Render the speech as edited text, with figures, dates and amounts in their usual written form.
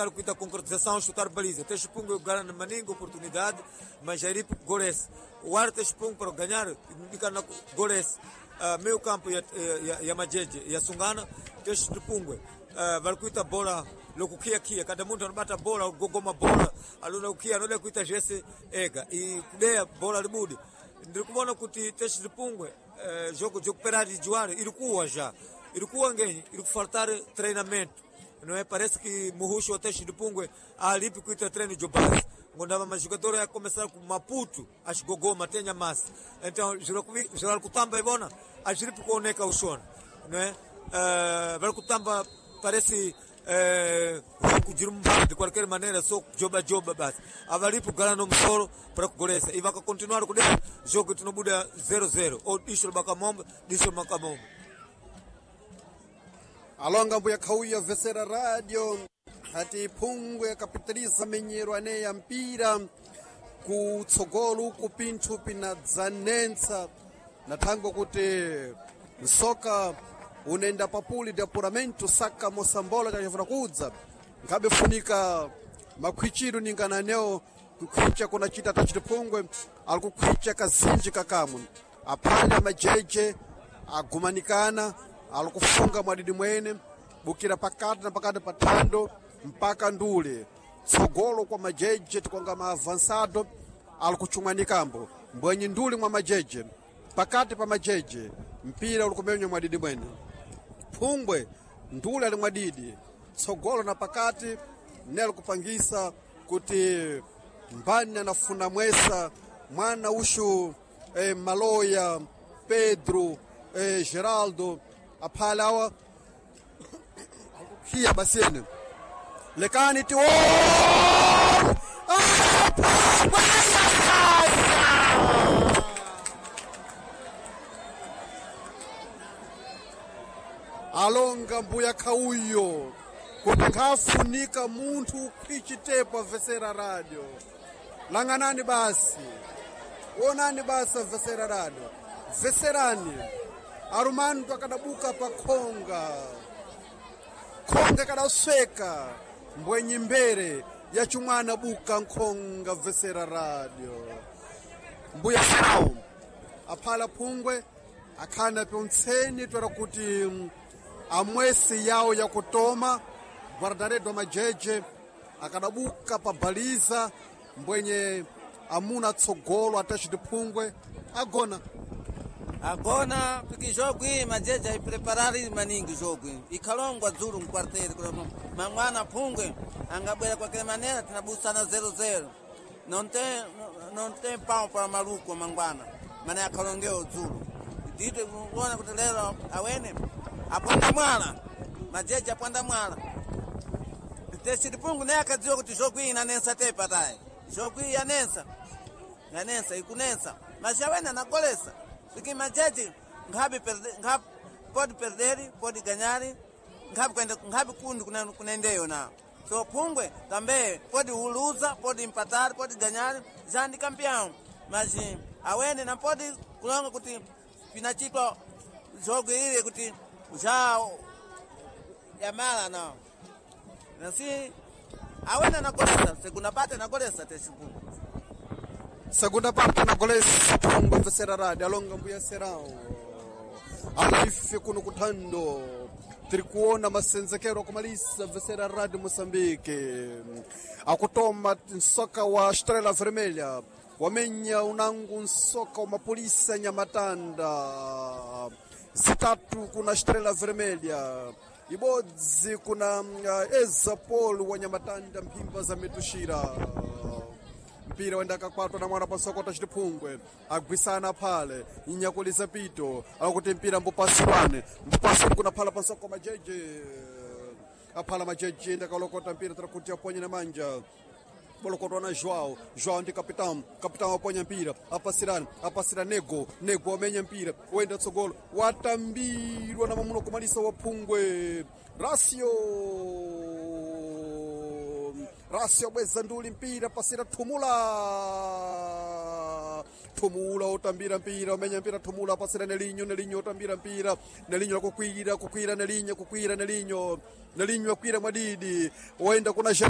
faltar kuita concretização, chutar baliza. Teste Pungo ganha maninga oportunidade, mas já golese. O ar Teste Pungo para ganhar, fica na golese. Meio campo ya Majeje, ya Sungana, Teste Pungo. Vai kuita bola lokukia kia cada muntu anobata bola gogoma bola aluna kukia anoda kuita jese ega e kudeya bola libudi ndiri kuona kuti Teste Pungwe jogo jokuperari juare irikuwa já irikuwa ngenyi iri kufartar treinamento não é? Parece que Muruxo Teste de Pungwe alipi kuita treino de base ngondava majogador a começar com Maputo as gogoma tenha massa então geral kutamba ibona ajiripi kuoneka ushona não é? Vai kutamba parece kujirumbana de qualquer maneira só joba joba basi avalipo gala no msoro para kugolesa e vaka continuar kudea jogo tinobuda 0-0 ou dicho bakamombe dicho makamombe Alonga mbuya khauya vesera radio ati phungwe akapitiriza menyero ane ya mpira kutsogolo uku pinthu pinadzanentsa na thangwe kuti msoka unenda papuli de apuramento saka mosambola chachifuna kudza nkhabe funika makhwichiro ningananewo kukhwicha kunachita tachitiphungwe ali kukhwicha kazinji kakamwe aphale amajeje agumanikana ali kufunga mwadidi mwene bukira pakati na pakati pa thando mpaka ndule tsogolo kwa majeje tikonga ma avançado ali kuchumwanikambo mbwenyi nduli mwa majeje pakati pa majeje mpira uli kumenywa mwadidi mwene phungwe ndule ali mwadidi tsogolo na pakati nelo kupangisa kuti mbani anafuna mwesa mwana ushu maloya pedro geraldo aphala awa akukhiya basiyene lekani ti alonga mbuya khauyo kuti nkhafunika munthu khwichitepo avesera radio langanani basi onani basi avesera radio veserani arumantu akadabuka pa khonga khonga kadasweka mbwenyi mbere ya chumwana buka nkhonga vesera radio mbuya sao aphala phungwe akhana pyontseni twera kuti amwesi yawo yakutoma guardaredo majeje akadabuka pa baliza mbwenye amuna tsogolo atachitiphungwe agona agona piki jogo iyi majeje aipreparari maningi jogo iyi ikhalongwa dzulu mkwarteri kuti mangwana phungwe angabwera kwakele manera tinabusana 00 não tem pau para maluco mangwana mane akhalongewo dzulu dito kuona kuti lero awene apwanda mwala majeje apwanda mwala tesitipungu naye akadziwa kuti jogo iyi inanensa tepa tayi jogo iyi yanensa yanensa ikunensa mas awene anagolesa porque majeje nkhabe perde nkhabe pode perder pode ganhar nkhabe kwenda nkhabe kundi kunendeyo na so phungwe também pode luza pode empatar pode ganhar já ndi campeão mas awene não pode kulonga kuti pinachitwa jogo ile kuti já yamala não assim awene anagolesa segunda parte anagolesa teshipungu segunda parte anagolesa phungwe vesera radio alonga mbuya serao alaife kuno kuthando tiri kuona masenzekero akumalisa vesera radio moçambique akutoma nsoka wa estrela vermelha wamenya unangu nsoka wa mapolisa nyamatanda zitatu kuna estrela vermelha ibodzi kuna ezapolo wa nyamatanda mphimba za mituxira mpira wenda akakwatwa na mwana pasokota chitiphungwe agwisana phale inyakulisa pito akuti mpira mbupasiwane mbupasiwane kuna phala pansoko majeje aphala majeje ndakalokota mpira tirakuti aponye na manja bolokotwa na João João ndi capitão capitão aponya mpira apasirana apasira nego nego amenya mpira wenda tsogolo watambirwa na mamuno kumalisa wa phungwe Rasio Rasio bweza nduli mpira pasira Thumula Thumula otambira mpira omenya mpira Thumula pasira Nelinho Nelinho otambira mpira Nelinho akukwira kukwira Nelinho kukwira Nelinho Nelinho akwira mwadidi wenda kuna